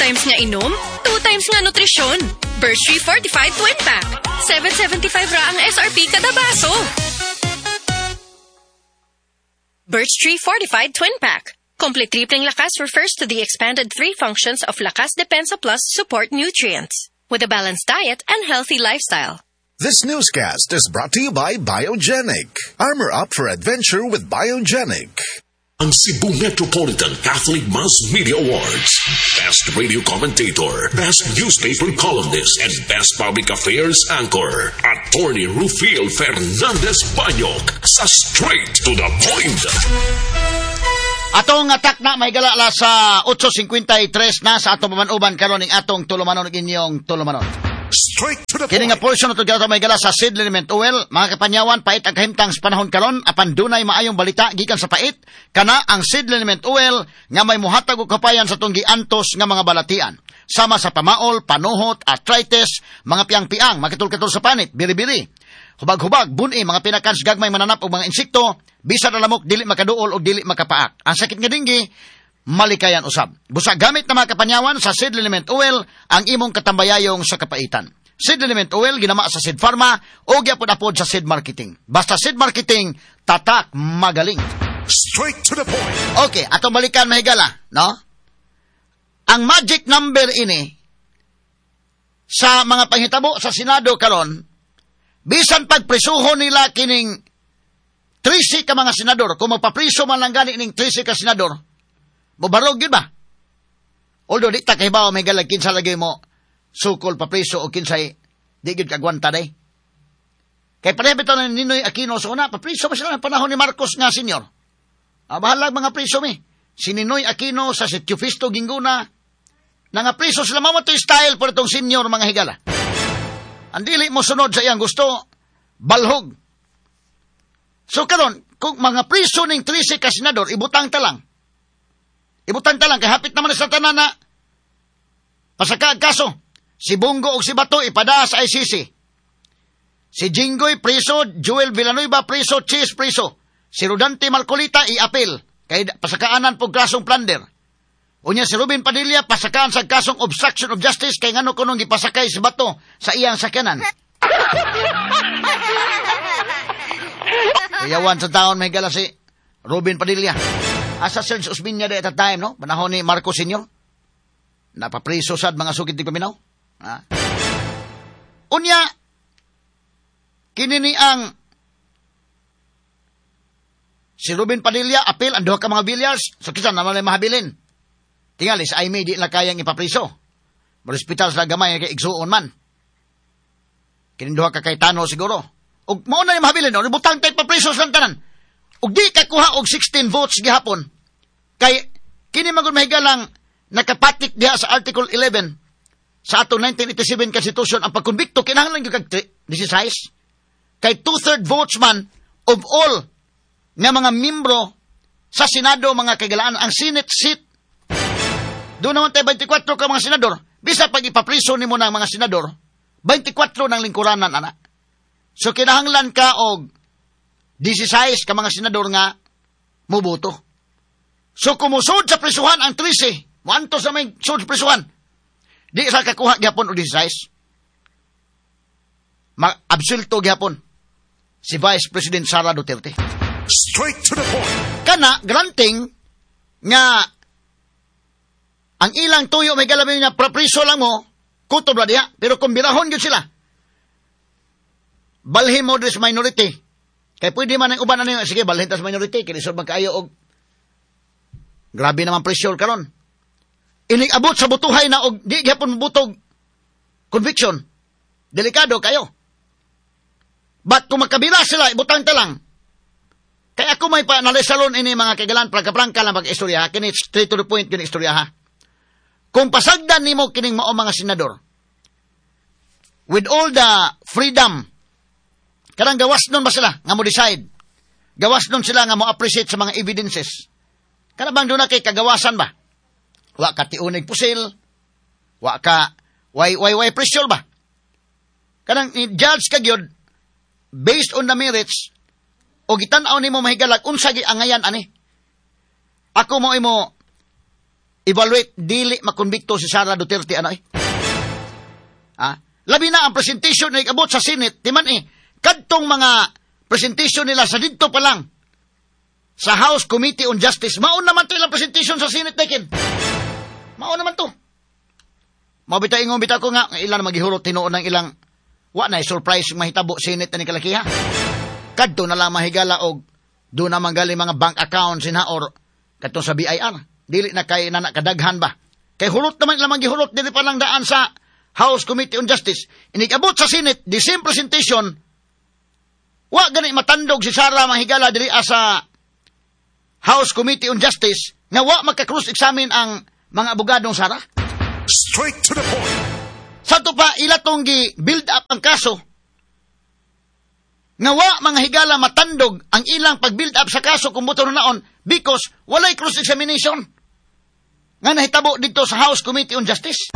Times nga inom, 2 times nga nutrisyon. Birch Tree Fortified Twin Pack. 7.75 ra ang SRP kada baso. Birch Tree Fortified Twin Pack. Complete Tripling Lakas refers to the expanded three functions of Lakas Depensa Plus support nutrients with a balanced diet and healthy lifestyle. This newscast is brought to you by Biogenic. Armor up for adventure with Biogenic. Ang Cebu Metropolitan Catholic Mass Media Awards. Best Radio Commentator, Best Newspaper Columnist, and Best Public Affairs Anchor. Attorney Rufil Fernandez Banyok sa Straight to the Point. Atong atak na may galala sa 8:53 na sa atong pamanuban karon ning atong tulumanon ug inyong tulumanon. Straight to the Kini nga point. Portion ato may gala sa Seed Liniment Oil, mga kapanyawan, pait ang kahimtang sa panahon karon, apan dunay maayong balita gikan sa pait, kana ang Seed Liniment Oil nga may muhatag og kapayan sa atong giantos nga mga balatian. Sama sa pamaol, panuhot, arthritis, mga piang-piang, makitulkatol sa panit, biri-biri, hubag-hubag, buni, mga pinakans gagmay mananap og mga insekto, bisan na lamok dili makaduol o dili makapaak. Ang sakit nga dinggi, malikayan usab. Busa gamit na mga kapanyawan sa Seed Liniment Oil ang imong katambayayong sa kapaitan. Seed Liniment Oil ginama sa Seed Pharma o gyapon-apod sa Seed Marketing. Basta Seed Marketing, tatak magaling. Straight to the point. Okay, atong balikan mahigala, no? Ang magic number ini sa mga panghitabo sa Senado karon, bisan pagprisuhon nila kining 13 ka mga senador, kung magpapriso man lang gani ning 13 ka senador, mobarog yun ba? Although di ta kahibaw may galag kinsa lagi mo sukol papriso o kinsay di gyud kagwanta day. Kay pareho bitaw ni Ninoy Aquino sa una, papriso ba sila ng panahon ni Marcos nga senior? Ah, bahalag mga priso mi. Si Ninoy Aquino sa si Teofisto Guingona, nga priso sila mao to style por itong senior, mga higala. Ang dili mo sunod sa iyang gusto, balhog. So karon, kung mga priso ning 13 ka senador, ibutang ta lang. Ibutang ta lang, kay hapit naman sa tanan na pasaka ang kaso. Si Bong Go ug si Bato ipada sa ICC. Si Jinggoy preso, Joel Villanueva preso, Chiz preso. Si Rodante Marcoleta i-appeal kay pasakaanan po kasong plunder. Unya si Robin Padilla pasakaan sa kasong obstruction of justice kay ngano kunong gipasakay si Bato sa iyang sakyanan. Iyawan sa taon may gala si Robin Padilla. Asa Serge Osmeña at that time, no? Panahon ni Marcos Sr. Napapriso sad mga sukit di paminaw. Ha? Unya, kini ni ang si Robin Padilla, appeal, ang duha ka mga bilyars, so kinsa naman ay mahabilin. Tingali, sa Imee di na kayang ipapriso. Marospital sa gamay kay igsuon man. Kining duha ka Cayetano siguro. Ug mao na yung mahabilin, no? Ibutang tayo papriso sa tanan. Ug di ka kuha og 16 votes gihapon. Kay kini man gud mahigalang nakapatik diha sa Article 11 sa atong 1987 Constitution, ang pagkonbikto kinahanglan gyud kag 16. Kay two-third votes man of all nga mga membro sa Senado, mga kagalaan, ang Senate seat. Doon naman tayo 24 ka mga senador. Bisa pag ipapriso nimo ng mga senador, 24 ng lingkuranan, ana. So kinahanglan ka og 16 ka mga senador nga muboto. So kumusod sa prisuhan ang 13, muanto sa may sud sa prisuhan, di sa kakuha gyapon og 16. Ma-absulto gyapon si Vice President Sara Duterte. Straight to the point. Kana granting nga ang ilang tuyo may galabi nga prapriso lang mo, kutob ra diha, pero kung birahon gyud sila, balhin mo this minority. Kay pwede man ang uban ano, sige, balhin tas minority, kay lisod man kaayo og grabe naman pressure karon. Inig abot sa butuhay na og di gyapon mobutog conviction. Delikado kayo. But kung makabila sila, ibutang ta lang. Kaya ako may pa nalisalon ini mga kagalan, prangka-prangka lang pag-istorya, ha? Kini straight to the point yun istorya ha. Kung pasagdan nimo kining mao mga senador, with all the freedom, karang gawas nun ba sila nga mo decide? Gawas nun sila nga mo appreciate sa mga evidences. Kana bang doon na kay kagawasan ba? Wa ka tiunig pusil, wa ka, way, way, way pressure ba? Kanang i-judge ka gyud based on the merits, o gitan-aw nimo mahigalag unsa gi angayan ani. Ako mo imo evaluate, dili makonbikto si Sara Duterte ano eh. Ha? Labi na ang presentation na ikabot sa Senate, timan eh, kadtong mga presentation nila sa didto pa lang sa House Committee on Justice, maon naman to ilang presentation sa Senate, Dekin. Maon naman to. Mabita ingon bitaw ko nga, ilan maghihurot tinuod ng ilang, wa na surprise mahitabo Senate ni kalakiha. Kadto na lang mahigala og do na manggali mga bank accounts na or kadto sa BIR. Dili na kay na kadaghan ba. Kay hurot naman ilang gihurot dili pa lang daan sa House Committee on Justice. Inikabot sa Senate, the same presentation, wa gani matandog si Sara mahigala diri sa House Committee on Justice nga wa maka-cross-examine ang mga abogadong Sara. Straight to the point. Sa to pa ila tong gi-build up ang kaso nga wa mga higala matandog ang ilang pag-build up sa kaso kung buto naon because walay cross-examination nga nahitabo dito sa House Committee on Justice.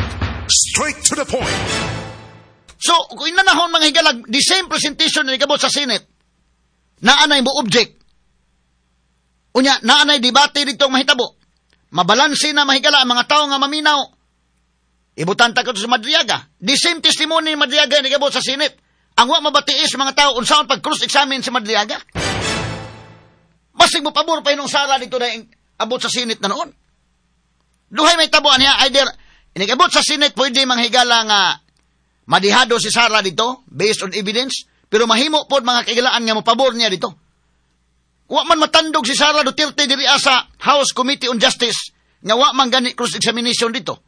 Straight to the point. So, kung inanahon mga higala, the same presentation na ikabot sa Senate, naanay mo object. Unya, naanay debate dito ang mahitabo. Mabalanse na mahigala ang mga tao nga maminaw. Ibutan ta ko sa Madriaga. The same testimony ni Madriaga na ikabot sa Senate. Ang wa mabatiis mga tao unsaon pag cross-examine si Madriaga. Basig mo pabor pa inong Sara dito na abot sa Senate na noon. Duhay may tabuan niya, either inikabot sa Senate, pwede manghigala nga madihado si Sara dito, based on evidence, pero mahimo pod mga kaigalaan nga mopabor niya dito. Wa man matandog si Sara Duterte diri sa House Committee on Justice nga wa man gani cross-examination dito.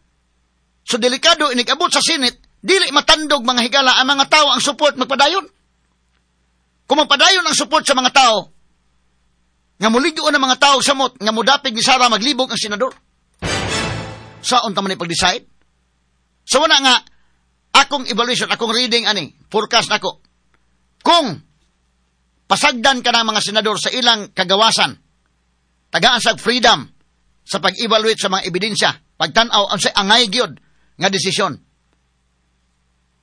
So delikado inikabot sa Senate, dili matandog mga higala ang mga tao ang support magpadayon. Kung magpadayon ang support sa mga tao, nga muligo ang mga tao samot, nga mudapig ni Sara maglibog ang senador. Saon ta man pag-decide? So wala nga, akong evaluation, akong reading ani, forecast nako. Kung pasagdan ka ng mga senador sa ilang kagawasan, tagaan sa freedom sa pag-evaluate sa mga ebidensya, pagtan-aw ang sa angay gyud nga desisyon,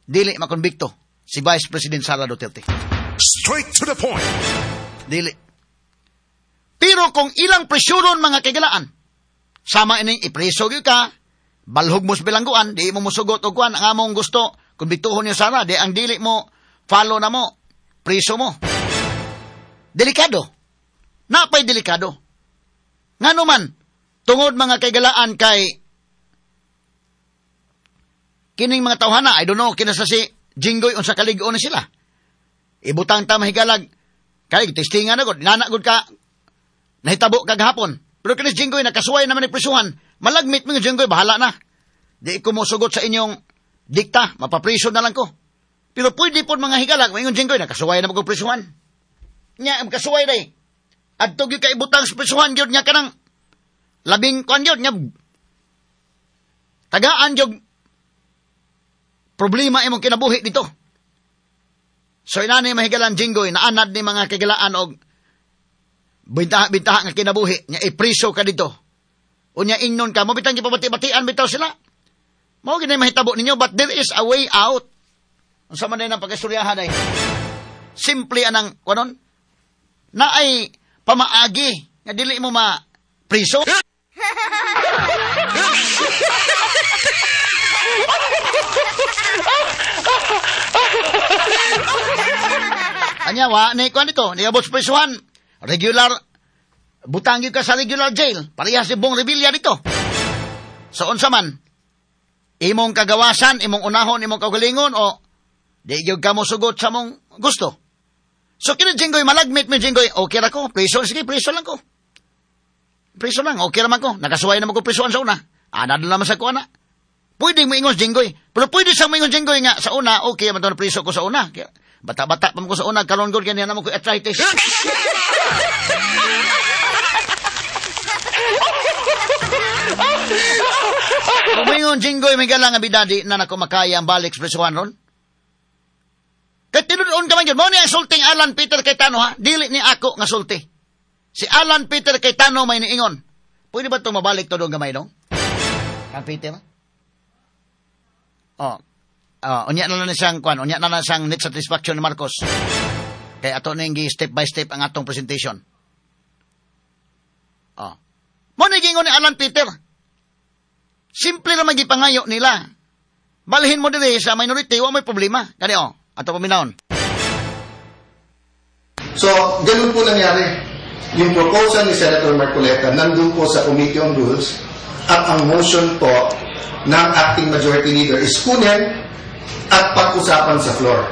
dili makonbikto si Vice President Sara Duterte. Straight to the point. Dili. Pero kung ilang presyuron mga kaigalaan, sama ining ipreso gyud ka, balhog mo sa bilangguan, di mo musugot og kuan ang among gusto, kumbituhon niyo Sara, di ang dili mo follow na mo, preso mo. Delikado. Napay delikado. Ngano man, tungod mga kaigalaan kay kining mga tawhana, I don't know, kinasa si Jinggoy unsa kalig-on ni sila. Ibutang ta mahigalag, kay testingan na gud, nana gud ka, nahitabo kagahapon. Pero kinis Jinggoy, nakasuway naman ni prisuhan, malagmit mo yung Jinggoy, bahala na. Di ko mosugot sa inyong dikta, mapapriso na lang ko. Pero pwede po mga higalag, may Jinggoy, nakasuway na magprisuhan. Nya, kasuway day. Adto gyud ka ibutang sa prisuhan, gyud nya kanang labing kuan gyud, nya tagaan gyud problema imong kinabuhi dito. So inani mahigalan Jinggoy, naanad ni mga kagilaan og bintaha nga kinabuhi, nya ipriso ka dito. Unya ingnon ka, mo bitang gipabati-batian bitaw sila. Mao gid mahitabo ninyo, but there is a way out. Unsa man ang pag-istoryahan ay simple anang kunon na ay pamaagi nga dili mo ma priso. Anya wa ni kuan dito, niabot sa prisuhan. Regular butang gyud ka sa regular jail. Parehas si Bong Revilla dito. So unsa man imong kagawasan, imong unahon, imong kaugalingon o di gyud ka mosugot sa mong gusto. So kini Jinggoy malagmit mi Jinggoy, okay ra ko, priso sige, priso lang ko. Priso lang, okay ra man ko. Nakasuway na man ko prisuan sa una. Ana na naman sa ko ana. Pwede mo ingon Jinggoy, pero pwede sa mo ingon Jinggoy nga sa una, okay man to na priso ko sa una. Bata-bata pa mo ko sa una, karon gud kanya na mo ko arthritis. Kumingon Jinggoy may galang nga bidadi na nako makaya ang balik sa prisuhan ron. Kay tinuod ka man gyud, mao ni ang sulting Alan Peter Cayetano ha, dili ni ako nga sulti. Si Alan Peter Cayetano may niingon. Pwede ba itong mabalik to doon gamay dong? Kang Peter? Oh. Unya na lang siyang kuan, unya na lang siyang net satisfaction ni Marcos. Kay ato ning step by step ang atong presentation. Oh. Mo ni gingon ni Alan Peter. Simple ra magipangayo nila. Balhin mo diri sa minority, wa may problema. Kani oh, ato paminawon. So, ganun po nangyari. Yung proposal ni Senator Marcoleta nandun po sa Committee on Rules at ang motion po ng acting majority leader is kunin at pag-usapan sa floor.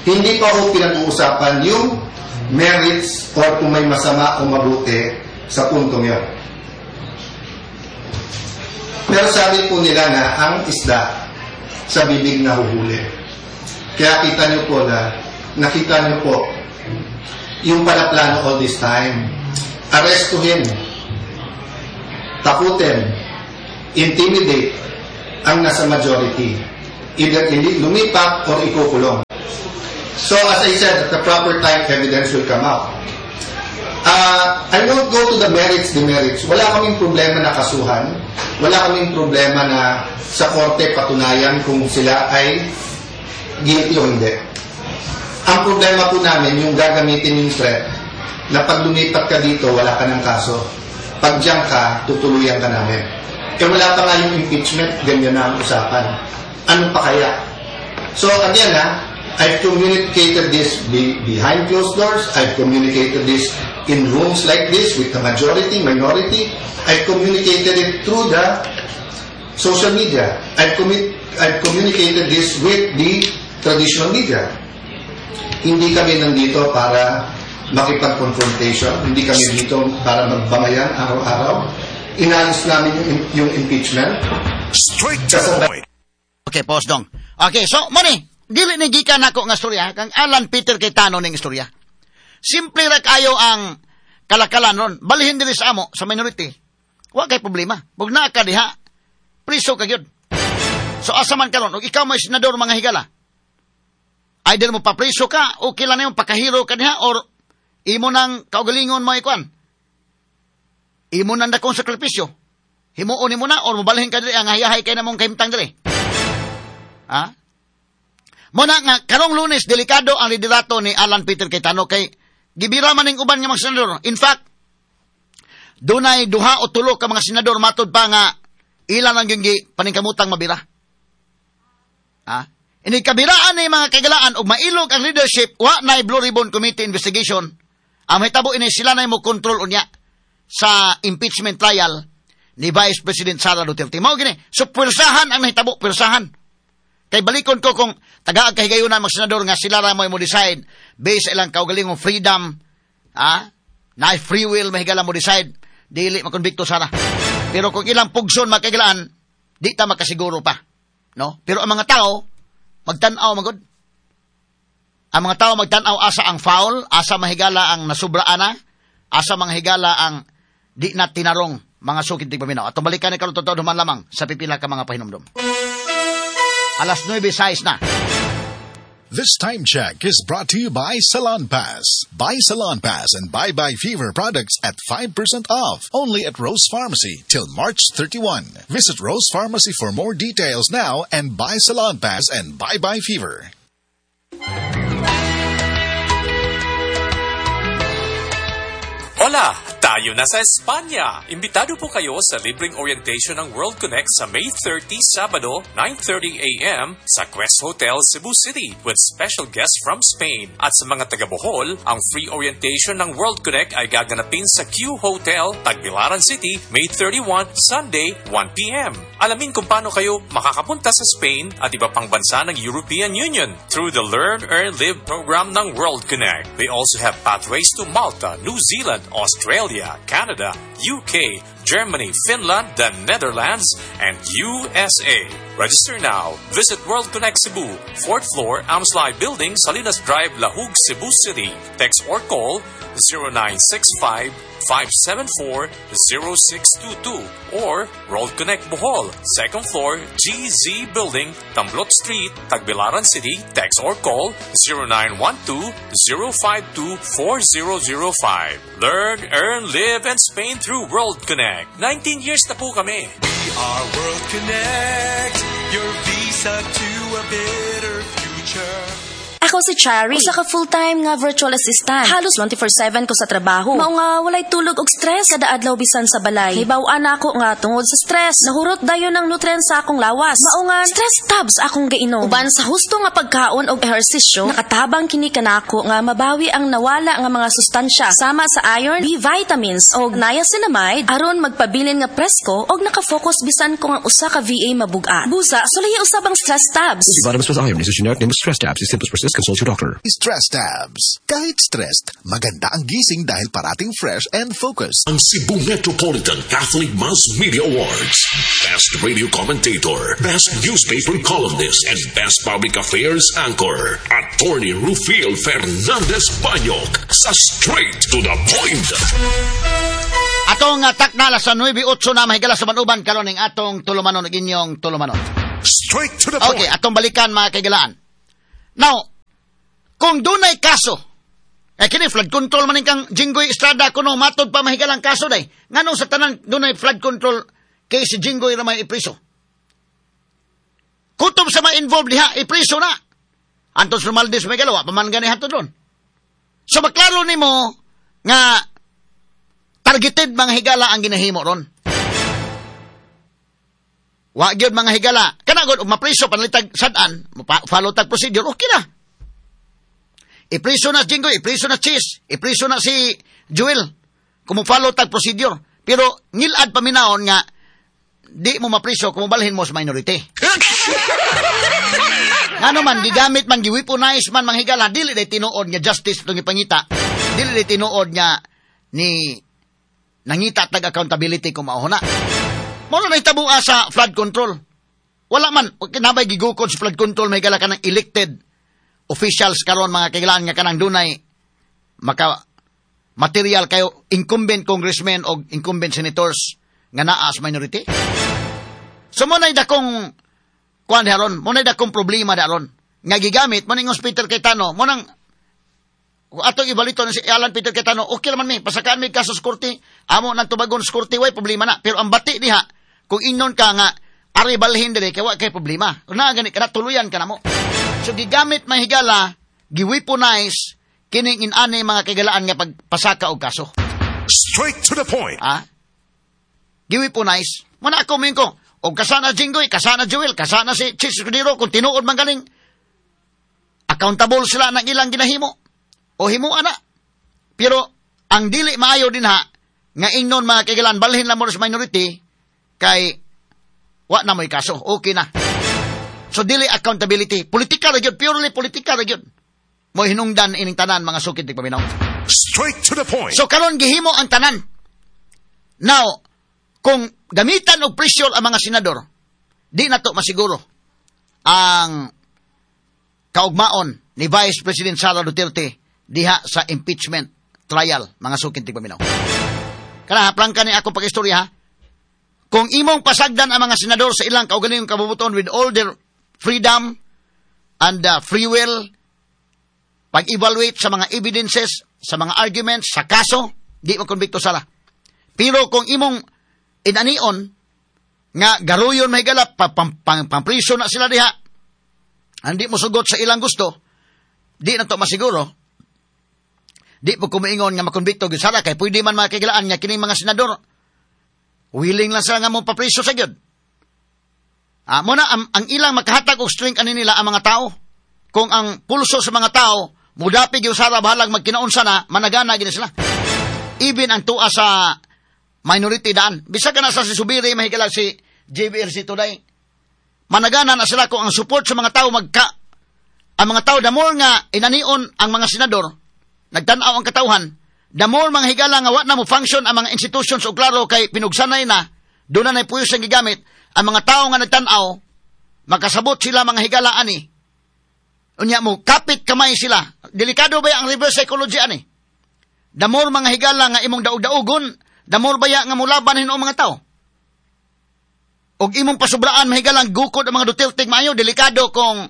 Hindi pa po pinag-uusapan yung merits or kung may masama o mabuti sa puntong yun. Pero sabi po nila na ang isda sa bibig nahuhuli. Kaya kita niyo po na, nakita niyo po yung pala plano all this time. Arestuhin, takutin, intimidate ang nasa majority. Either lumipat or ikukulong. So as I said, at the proper time, evidence will come out. I won't go to the merits, demerits. Wala kaming problema na kasuhan. Wala kaming problema na sa korte patunayan kung sila ay guilty o hindi. Ang problema po namin, yung gagamitin yung threat na pag lumipat ka dito, wala ka ng kaso. Pag diyan ka, tutuluyan ka namin. Eh wala pa nga yung impeachment, ganyan na ang usapan. Ano pa kaya? So again ha, I've communicated this behind closed doors. I've communicated this in rooms like this with the majority, minority. I've communicated it through the social media. I've communicated this with the traditional media. Hindi kami nandito para makipag-confrontation. Hindi kami dito para magbangayan araw-araw. Inayos namin yung impeachment. Straight to the point. Okay, pause dong. Okay, so, money, dili ni gikan nako nga storya, kang Alan Peter Cayetano ning istorya. Simple ra kayo ang kalakalan ron. Balhin diri sa amo, sa minority. Wa kay problema. Bug naa ka diha, priso ka gyud. So asa man karon, og ikaw may senador mga higala, either mo papriso ka, o kila na yung pakahiro ka diha, or imo nang kaugalingon mo ikuan. Imo nang dakong sakripisyo. Himuon nimo na, or mobalhin ka diri, ang hayahay kay namong kahimtang diri. Ha? Muna nga, karong Lunes, delikado ang liderato ni Alan Peter Cayetano kay gibira man ning uban nga mga senador. In fact, dunay duha o tulo ka mga senador matod pa nga ilan ang gyud paningkamutang mabira. Ha? Ini kabiraan ni mga kagalaan og mailog ang leadership, wa nay Blue Ribbon Committee investigation. Ang mahitabo ini sila nay mo control unya sa impeachment trial ni Vice President Sara Duterte. Mao gini, so pwersahan ang nahitabo, pwersahan. Kay balikon ko kung tagaag kahigayunan mga senador nga sila ra mo decide based sa ilang kaugalingong freedom, ha? Na free will mahigala mo decide dili makonbikto Sara. Pero kung ilang pugson makagalaan, di ta makasiguro pa, no? Pero ang mga tao magtan-aw magod. Ang mga tao magtan-aw asa ang foul, asa mahigala ang nasubraana, asa manghigala ang di na tinarong mga sukid ti paminaw. At balikan ni karon totoo duman lamang sa pipila ka mga pahinumdom. Alas 9:06 na. This time check is brought to you by Salon Pass. Buy Salon Pass and Bye Bye Fever products at 5% off only at Rose Pharmacy till March 31. Visit Rose Pharmacy for more details now and buy Salon Pass and Bye Bye Fever. Hola! Tayo na sa Espanya! Imbitado po kayo sa libreng orientation ng World Connect sa May 30, Sabado, 9:30 a.m. sa Quest Hotel, Cebu City with special guests from Spain. At sa mga taga-Bohol, ang free orientation ng World Connect ay gaganapin sa Q Hotel, Tagbilaran City, May 31, Sunday, 1 p.m. Alamin kung paano kayo makakapunta sa Spain at iba pang bansa ng European Union through the Learn, Earn, Live program ng World Connect. They also have pathways to Malta, New Zealand, Australia, Canada, UK, Germany, Finland, the Netherlands, and USA. Register now. Visit World Connect Cebu, 4th floor, Amslai Building, Salinas Drive, Lahug, Cebu City. Text or call 0965-574-0622 or World Connect Bohol, 2nd floor, GZ Building, Tamblot Street, Tagbilaran City. Text or call 0912-052-4005. Learn, earn, live, and Spain through World Connect. 19 years na po kami. We are World Connect, your visa to a better future. Ako Ako si Chari, usa ka full-time nga virtual assistant. Halos 24/7 ko sa trabaho. Mao nga walay tulog og stress kada adlaw bisan sa balay. Hibaw-an nako nga tungod sa stress, nahurot dayon ang nutrients sa akong lawas. Mao nga Stress Tabs akong gainom. Uban sa husto nga pagkaon og ehersisyo, nakatabang kini kanako nga mabawi ang nawala nga mga sustansya sama sa iron, B vitamins og niacinamide aron magpabilin nga presko og naka-focus bisan kung ang usa ka VA mabugat. Busa, sulayi usab ang Stress Tabs. Vitamins plus iron is a generic name of Stress Tabs. If symptoms persist, consult your doctor. Stress Tabs. Kahit stressed, maganda ang gising dahil parating fresh and focused. Ang Cebu Metropolitan Catholic Mass Media Awards. Best Radio Commentator, Best Newspaper Columnist, and Best Public Affairs Anchor. Attorney Rufil Fernandez Banyok sa Straight to the Point. Atong takna alas 9:08 na, mahigala sa manuban karon ning atong tulumanon ug inyong tulumanon. Straight to the point. Okay, atong balikan, mga kaigalaan. Now, kung dunay kaso, eh kini flood control man kang Jinggoy Estrada kuno matod pa mahigalang kaso day. Nganong sa tanan dunay flood control kay si Jinggoy ra may ipriso? Kutob sa ma-involved diha, ipriso na. Antos Romualdez may galawa, pa man gani hatod ron. So maklaro nimo nga targeted mga higala ang ginahimo ron. Wa gyud mga higala. Kana gud og mapriso panalitag sad-an, follow tag procedure, okay na. Ipriso na si Jinggoy, ipriso na Chiz, ipriso na si Joel. Kung mo follow tag procedure. Pero ngilad paminaon nga di mo mapriso kung mobalhin mo sa minority. Ngano man gigamit man, gi-weaponize man mga higala, dili day tinuod nga justice itong ipangita. Dili day tinuod nga ni nangita tag accountability kung mao na. Mao na nahitabo sa flood control. Wala man kinabay gigukod sa flood control may higala kanang elected officials karon mga kailangan nga kanang dunay maka material kayo incumbent congressmen o incumbent senators nga naa sa minority. So mo na'y dakong kuan haron, mo na'y dakong problema daron nga gigamit mo ning Peter Cayetano, mo nang atong ibalito ni si Alan Peter Cayetano, okay naman mi, pasakaan mi kaso sa korte, amo nang tubagon sa korte, way problema na. Pero ang bati diha, kung ingon ka nga ari balhin diri kay wa kay problema. Na gani kada tuluyan ka namo. So gigamit mahigala, gi-weaponize kining inani mga kaigalaan nga pagpasaka og kaso. Straight to the point. Ah? Gi-weaponize. Muna ako minko, og kasana Jinggoy, kasana Joel, kasana si Chiz Escudero, kung tinuod man ganing accountable sila ng ilang ginahimo. O himuan na. Pero ang dili maayo din ha, nga ingnon mga kaigalaan, balhin lang mo sa minority, kay wa na mo'y kaso, okay na. So dili accountability, politika ra gyud, purely politika ra gyud. Mo hinungdan ining tanan mga sukid tigpaminaw. Straight to the point. So karon gihimo ang tanan. Now, kung gamitan og pressure ang mga senador, di na to masiguro ang kaugmaon ni Vice President Sara Duterte diha sa impeachment trial mga sukid tigpaminaw. Kana prangka ni ako pag-istorya ha. Kung imong pasagdan ang mga senador sa ilang kaugalingong kabubuton with all their freedom and free will, pag-evaluate sa mga evidences, sa mga arguments, sa kaso, di mo konbikto sala. Pero kung imong inanion, nga garuyon may galap, pampriso na sila diha, hindi mo sugot sa ilang gusto, di na to masiguro, di po kumiingon nga makonbikto gyud sala, kay pwede man makigilaan nga kining mga senador, willing lang sila nga mo papriso sa gyud. Muna, ang ilang makahatag og strength ani nila ang mga tao. Kung ang pulso sa mga tao, mudapi gyud sara bahalag magkinaunsa na, managana gid sila. Even ang tuwa sa minority daan. Bisag ka na sa si Subiri, mahigala si JBRC today. Managana na sila kung ang support sa mga tao magka. Ang mga tao, the more nga inanion ang mga senador, nagtan-aw ang katawhan, the more mga higala nga wa na mo function ang mga institutions o klaro kay pinugsanay na, doon na puyos ang gigamit, ang mga tao nga nagtan-aw, makasabot sila mga higala ani. Unya mo, kapit kamay sila. Delikado ba ang reverse psychology ani? The more mga higala nga imong daog-daogon, the more baya nga mulaban hinuon mga tao. Og imong pasubraan mahigalang gukod ang mga Duterte maayo, delikado kung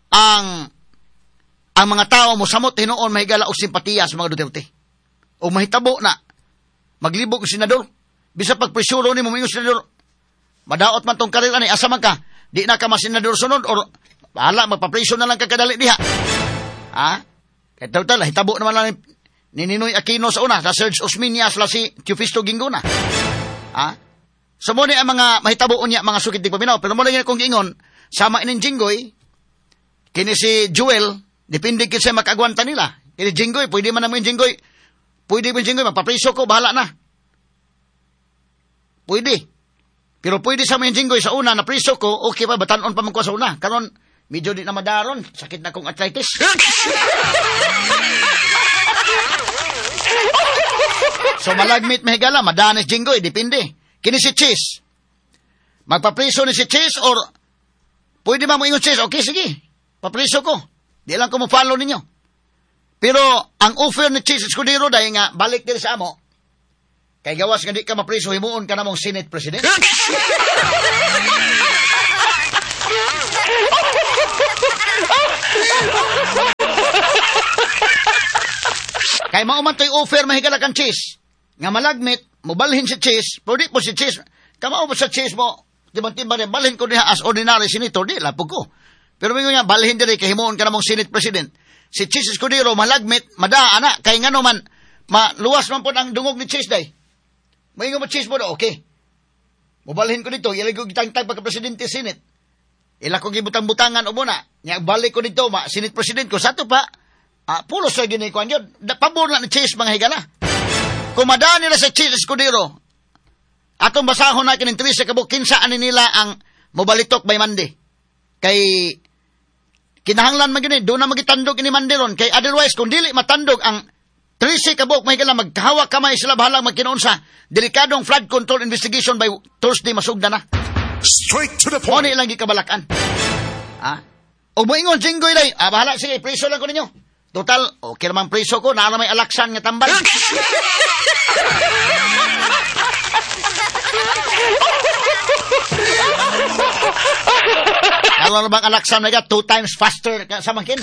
ang mga tao mosamot hinuon mahigala og simpatiya sa mga Duterte. O mahitabo na maglibog ang senador. Bisa pag presuro ni mo mingon senador, madaot man tong karir ani, asa man ka, di na ka masenador sunod or bahala magpapreso na lang ka kadali diha. Ha? Kaya total, hitabo naman lang ni Ninoy Aquino sa una, sa Serge Osmeña sila si Teofisto Guingona. Ha? So mo ni ang mga mahitabo unya mga sukit di paminaw. Pero mo lang kong giingon, sama ining Jinggoy, kini si Joel, depende kinsa makagwanta nila. Kini Jinggoy, pwede man naman Jinggoy, pwede man Jinggoy, magpapriso ko, bahala na. Pwede. Pero pwede sa mga Jinggoy sa una, na priso ko, okay pa, batanon pa man ko sa una. Karon, medyo di na madaron, sakit na kong arthritis. So malagmit mahigala, madanis Jinggoy, depende. Kini si Chis. Magpapriso ni si Chis or pwede ba mo ingon Chis? Okay, sige. Papriso ko. Di lang ko mo-follow ninyo. Pero ang offer ni Chis Escudero dahil nga balik diri sa amo. Kay gawas nga di ka mapriso, himuon ka namong Senate President. Kay mao man to'y offer mahigala kang Chis. Nga malagmit, mobalhin si Chis, pero di po si Chis, kamao po sa Chis mo, tibang-tibang rin, balhin ko niya as ordinary senator, di, lapog ko. Pero mingon niya, balhin diri, kay himuon ka namong Senate President. Si Chis Escudero, malagmit, madaa, ana, kay nga naman, maluwas man po ang dungog ni Chis, day. Maingon mo, Chis mo, okay. Mobalhin ko dito, ilag ko gitangtang pagka-presidente Senate. Ila ko gibutang-butangan o muna, niya, balik ko dito, ma, Senate President ko, sa to pa, pulos sa ginikuan yun, pabor na ni Chis, mga higala. Kung madaan nila sa Chis Escudero, atong basahon na kining 13 kabuk, kinsaan nila ang mobalitok by Monday. Kay kinahanglan man gyud doon na magitandog ini Monday ron. Kay otherwise, kung dili matandog ang 13 kabuk, may kailangan magkahawak kamay sila bahalang magkinoon sa delikadong flood control investigation by Thursday masugda na. Straight to the point. Muna ilang gikabalakan. Ha? O moingon Jinggoy day, bahala sige, priso lang ko ninyo. Total, okay naman priso ko, naa na may alaksan nga tambal. Alam na bang alaksan na 2 times faster sa mangkin?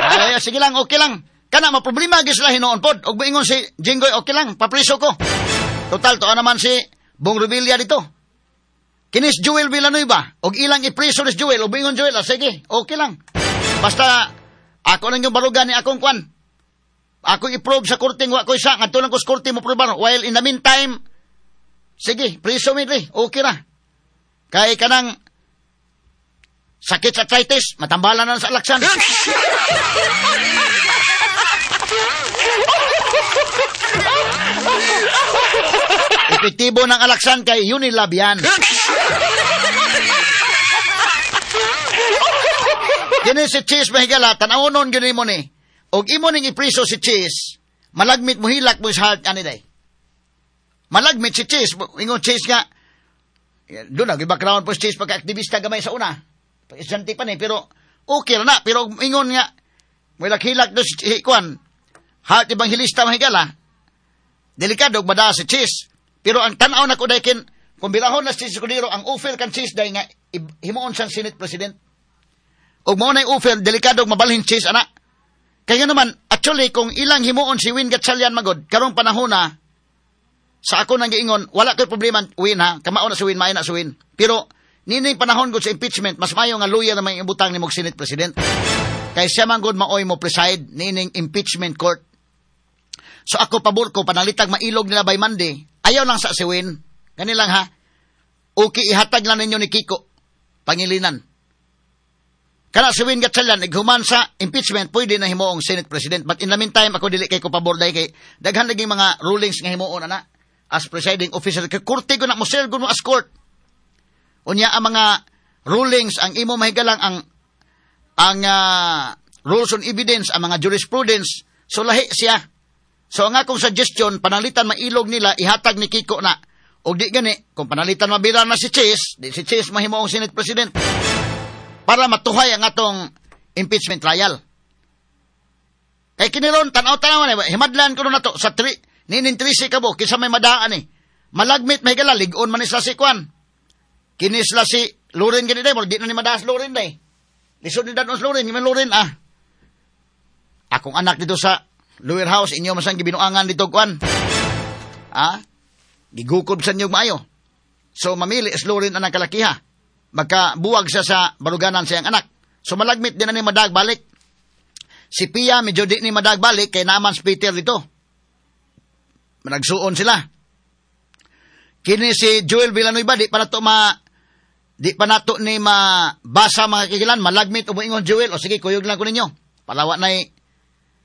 Ay, sige lang, okay lang. Kana, maproblema gyud sila hinuon pod. Og moingon si Jinggoy, okay lang, papriso ko. Total, tuo naman si Bong Revilla dito. Kinis Joel Villanueva, og ilang ipriso ni Joel, og moingon Joel, sige, okay lang. Basta, ako lang yung barugan ni akong kwan. Ako i-probe sa korte, wa ko isa, ngadto lang ko sa korte mo probar. While in the meantime, sige, priso mi diri, okay ra. Kay kanang sakit sa arthritis, matambalan na sa alaksan. Epektibo ng alaksan kay Unilab yan. Kini si Chis mahigala, tan-awonon gyud nimo ni. Og imo ning ipriso si Chis, malagmit mo hilak mo sa heart ani day. Malagmit si Chis, ingon Chis nga doon na background po si Chis pagka-aktivista gamay sa una. Pag-estudyante pa ni, pero okay na, pero ingon nga mulak-hilak do si kuan. Heart evangelista mahigala. Delikado og madaa si Chis. Pero ang tan-aw na ko daykin, kung birahon na si Chis Escudero, ang offer kan Chis day nga himuon siyang Senate President. Og mao nay offer, delikado og mabalhin Chis ana. Kaya naman, actually, kung ilang himuon si Win Gatchalian magod, karong panahon na, sa ako nang giingon, wala ko'y problema, Win ha, kamao na si Win, maayo na si Win. Pero, nining panahon gud sa impeachment, mas maayo nga lawyer na may ibutang ni mog Senate President. Kay siya man gud maoy mo preside nining impeachment court. So ako pabor ko, panalitag mailog nila by Monday, ayaw lang sa si Win. Kanilang ha, okay ihatag lang ninyo ni Kiko, Pangilinan. Kana si Win Gatchalian, naghuman sa impeachment, pwede na himuong Senate President. But in the meantime, ako dili kay ko pabor dahil kay daghan naging mga rulings nga himuon ana as presiding officer. Kay korte ko na mo serve mo as court. Unya ang mga rulings, ang imo mahigalang ang rules on evidence, ang mga jurisprudence, so lahi siya. So ang akong suggestion, panalitan mailog nila, ihatag ni Kiko na. Og di gani, kung panalitan mabira na si Chis, di si Chis mahimuong Senate President. Para matuhay ang atong impeachment trial. Kay kiniron, tanaw-tanaw na, himadlan ko na to, sa ninin 13 kabo, kinsa may madaan eh. Malagmit, may gala, ligon man isla si Kwan. Kinisla si Loren gani day, di na ni madaas Loren day. Lisod ni danon Loren, yung Loren ah. Akong anak dito sa lower house, inyo masang gibinuangan dito, Kwan. Ah, gigukob sa inyo maayo. So mamili slow rin ang kalakiha. Magkabuwag siya sa baruganan sa iyang anak. So malagmit din na ni madag balik. Si Pia medyo di ni madag balik kay naman si Peter dito. Nagsuon sila. Kini si Joel Villanueva di pa nato ni mabasa mga kahigalaan, malagmit o moingon Joel, o sige kuyog lang ko ninyo. Para wa nay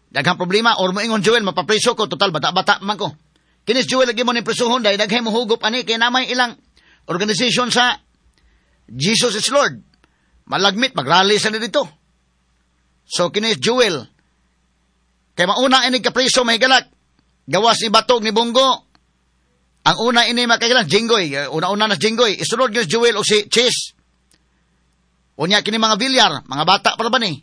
daghang problema or moingon Joel mapapriso ko, total bata-bata man ko. Kini si Joel lagi mo ni prisuhon dahil daghay mohugup ani kay namay ilang organization sa Jesus is Lord. Malagmit magrally sa dito. So kini si Joel kay mauna ini kapriso mahigalak. Gawas ni Batog ni Bongo. Ang una ini makailan Jinggoy, una-una na Jinggoy, isunod gyud Joel o si Chase. Unya kini mga Villar, mga bata pa ba ni?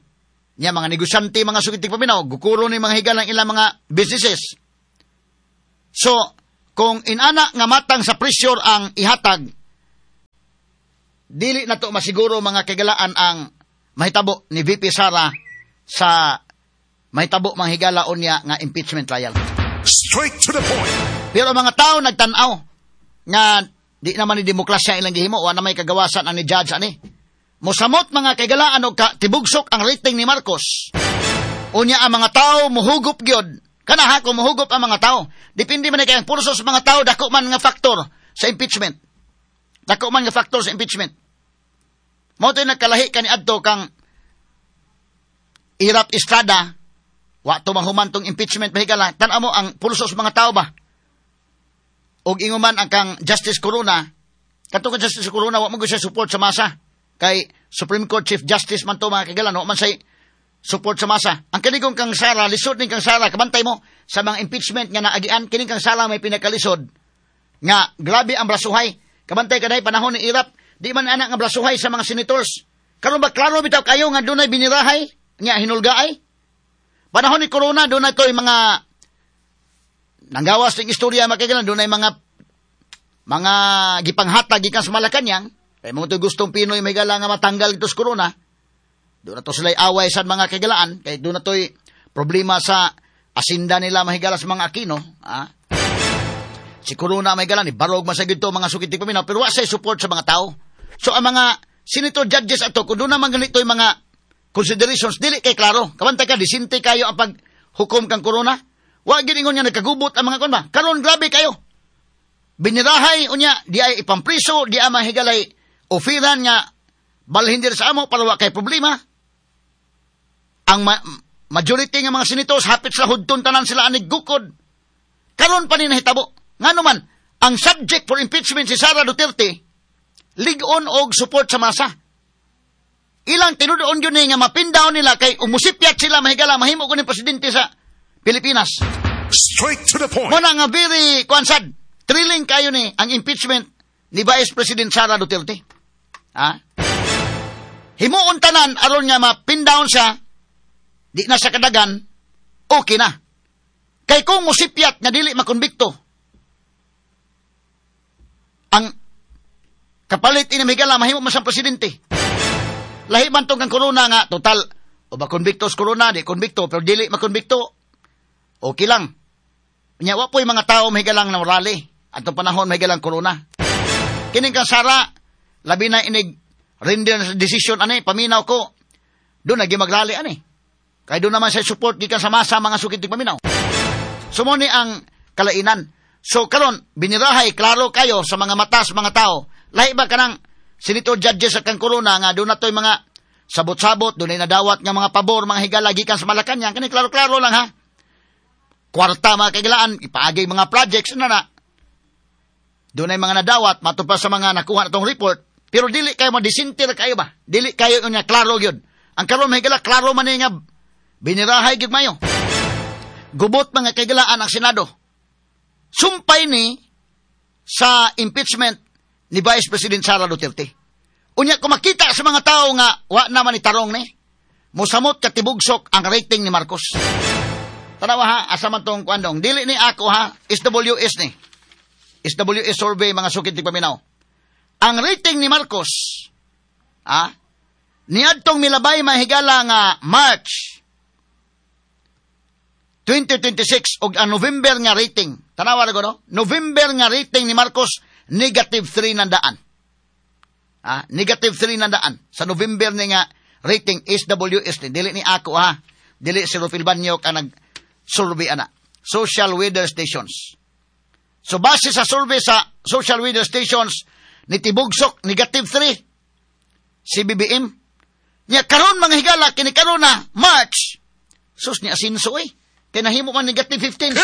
Nya mga negosyante, mga sukitig paminaw, gukuro ni mga higalang ilang mga businesses. So, kung inana nga matang sa pressure ang ihatag, dili na to masiguro mga kagalaan ang mahitabo ni VP Sara sa mahitabo mga higala unya nga impeachment trial. Straight to the point. Pero ang mga tao nagtan-aw nga di naman ni demokrasya ilang gihimo, wa na may kagawasan ang ni judge ani. Mosamot mga kaigalaan og tibugsok ang rating ni Marcos. Unya ang mga tao muhugup gyud. Kana ha, kung muhugup ang mga tao, depende man kay ang pulso sa mga tao, dako man nga factor sa impeachment. Dako man nga factor sa impeachment. Mao to'y nagkalahi kani adto kang Erap Estrada, wa to mahuman tong impeachment mahigala. Tan-aw mo ang pulso sa mga tao ba? Og inguman ang kang Justice Corona, katong kang Justice Corona wa man siya support sa masa. Kay Supreme Court Chief Justice man to mga kagalan, wa man say support sa masa. Ang kanigong kang Sara, lisod ning kang Sara, kabantay mo sa mga impeachment nga naagian, kining kang Sara may pinakalisod nga grabe ang brasuhay. Kabantay kaday panahon ni Erap, di man ana nga brasuhay sa mga senators. Karon ba klaro bitaw kayo nga dunay binirahay nga hinulgaay? Panahon ni Corona dunay toy mga nanggawas ning istorya makagalan, dunay mga gipanghatag gikan sa Malacañang. Kay mo to'y gustong Pinoy may gala nga matanggal ito sa corona. Doon na to sila'y away sa mga kagalaan. Kay doon na to'y problema sa asinda nila mahigala sa mga Aquino. Ah? Si corona may gala ni barog man sa gito mga sukit paminaw, pero wa say support sa mga tao. So ang mga senator judges ato, kung doon naman ganito yung mga considerations, dili kay klaro. Kabantay ka, disinte kayo ang paghukom kang corona. Wa gid ingon nga nagkagubot ang mga kon ba. Karon grabe kayo. Binirahay unya di ay ipampriso, di ay mahigalay ofiran nga balhin diri sa amo para wa kay problema. Ang majority nga mga senators hapit sa hudton tanan sila anig gukod. Karon pa ni nahitabo. Ngano man ang subject for impeachment si Sara Duterte lig-on og support sa masa. Ilang tinudoon yun nga mapindaw nila kay umusipyat sila mahigala mahimo ko ni presidente sa Pilipinas. Straight to the point. Muna nga very kuansad, thrilling kayo ni ang impeachment ni Vice President Sara Duterte. Ha? Himuon tanan aron nga mapindown siya, di na siya kadagan, okay na. Kay kung musipyat nga dili makonbikto, ang kapalit ini mahigala mahimo man siyang presidente. Lahi man tong kang corona nga total o ba konbikto sa corona, di konbikto pero dili makonbikto, okay lang. Nya wa po'y mga tao mahigalang na rally atong panahon mahigalang corona. Kining kang Sara labi na inig render sa decision ani paminaw ko do nagi magrally ani. Kay do naman sa support gikan sa masa mga sukit paminaw. So mo ni ang kalainan. So karon binirahay klaro kayo sa mga mata sa mga tao. Lahi ba kanang senator judges sa kang corona nga do na to'y mga sabot-sabot, do na nadawat nga mga pabor, mga higala gikan sa Malacañang, kani klaro-klaro lang ha. Kwarta mga kaigalaan, ipaagay mga projects na na. Doon ay mga nadawat, matupa sa mga nakuha na tong report, pero dili kayo madisintir kayo ba? Dili kayo nga klaro yun. Ang karon mga higala, klaro man nga binirahay gyud mayo. Gubot mga kaigalaan ang Senado. Sumpay ni sa impeachment ni Vice President Sara Duterte. Unya kung makita sa mga tao nga wa naman ni tarong ni, mosamot katibugsok ang rating ni Marcos. Tanawa ha, asa man tong kuandong. Dili ni ako ha, SWS ni. SWS survey mga sukit ti paminaw. Ang rating ni Marcos, ha, niadtong milabay mahigala nga March 2026 og ang November nga rating. Tanawa ra no? November nga rating ni Marcos Negative 3 nandaan. Ah, negative 3 nandaan. Sa November ni nga rating SWS ni. Dili ni ako ha. Dili si Rufil Banyok ang nag-survey ana. Social Weather Stations. So base sa survey sa Social Weather Stations, ni tibugsok negative 3 si BBM. Nya karon mga higala kini karon na March. Sus ni asinso eh. Kay nahimo man negative 15.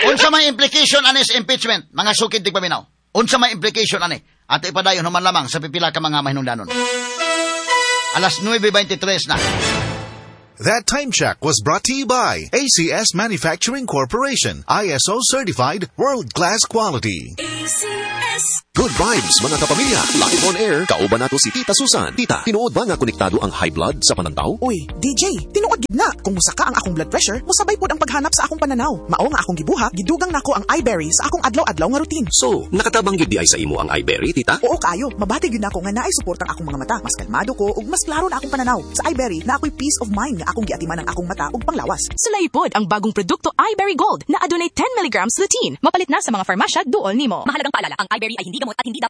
Unsa may implication ani sa impeachment, mga sukid tigpaminaw? Unsa may implication ani? Ato ipadayon human lamang sa pipila ka mga mahinungdanon. Alas 9:23 na. That time check was brought to you by ACS Manufacturing Corporation, ISO certified, world-class quality. ACS. Good vibes mga kapamilya. Live on air, kauban nato si Tita Susan. Tita, tinuod ba nga konektado ang high blood sa panantaw? Uy, DJ, tinuod gid na. Kung musaka ang akong blood pressure, musabay pod ang paghanap sa akong pananaw. Mao nga akong gibuhat, gidugang nako ang iBerry sa akong adlaw-adlaw nga routine. So, nakatabang gyud di ay sa imo ang iBerry, Tita? Oo kaayo, mabati gyud nako nga naay suportang akong mga mata. Mas kalmado ko ug mas klaro na akong pananaw. Sa iBerry, na ako'y peace of mind nga akong giatiman ang akong mata ug panglawas. Sulaipod ang bagong produkto iBerry Gold na adunay 10 mg lutein. Mapalit na sa mga farmasya duol nimo. Mahalagang paalala, ang iBerry ay hindi gamot at hindi dapat